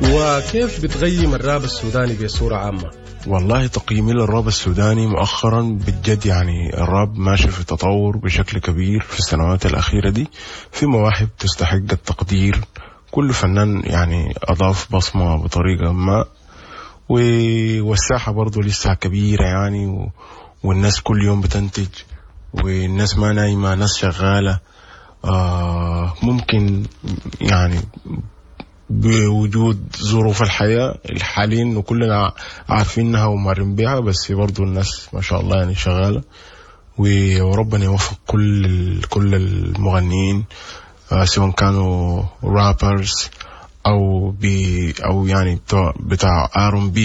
وكيف بتقيم الراب السوداني بصورة عامة؟ والله تقييمي للراب السوداني مؤخرا بجد يعني الراب ماشي في تطور بشكل كبير في السنوات الأخيرة دي، في مواهب تستحق التقدير، كل فنان يعني أضاف بصمة بطريقة ما، والساحة برضو لسه كبيرة يعني، والناس كل يوم بتنتج، والناس ما نايمة، ناس شغالة. ممكن يعني بوجود ظروف الحياة الحالية وكلنا عارفينها ومارين بيها، بس برضو الناس ما شاء الله يعني شغالة، وربنا يوفق كل المغنيين، سواء كانوا rappers أو بي أو يعني بتاع R&B،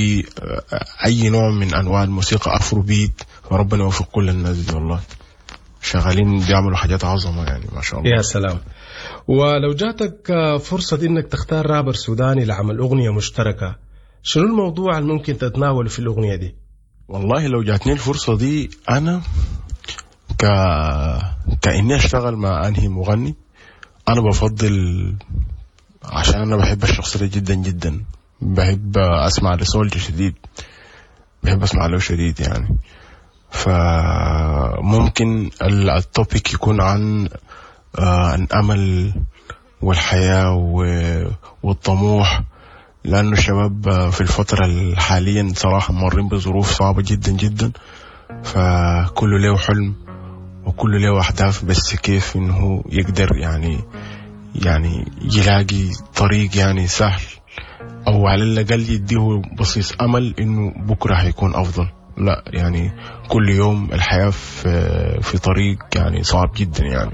أي نوع من أنواع الموسيقى، Afrobeat. فربنا يوفق كل الناس دي، والله شغالين بيعملوا حاجات عظمة يعني ما شاء الله. يا سلام. ولو جاتك فرصة إنك تختار رابر سوداني لعمل أغنية مشتركة، شنو الموضوع اللي ممكن تتناوله في الأغنية دي؟ والله لو جاتني الفرصة دي أنا كإني أشتغل مع أنهي مغني، أنا بفضل، عشان أنا بحب الشخص ده جدا جدا، بحب أسمع لسولجا شديد، بحب أسمع له شديد يعني. فممكن ال topic يكون عن الأمل والحياة والطموح، لأنه الشباب في الفترة الحالية صراحة مارين بظروف صعبة جدا جدا، فكله له حلم وكله له أهداف، بس كيف إنه يقدر يعني يلاقي طريق يعني سهل، أو على الأقل يديه بصيص أمل إنه بكرة هيكون أفضل. لا يعني كل يوم الحياة في طريق يعني صعب جدا يعني.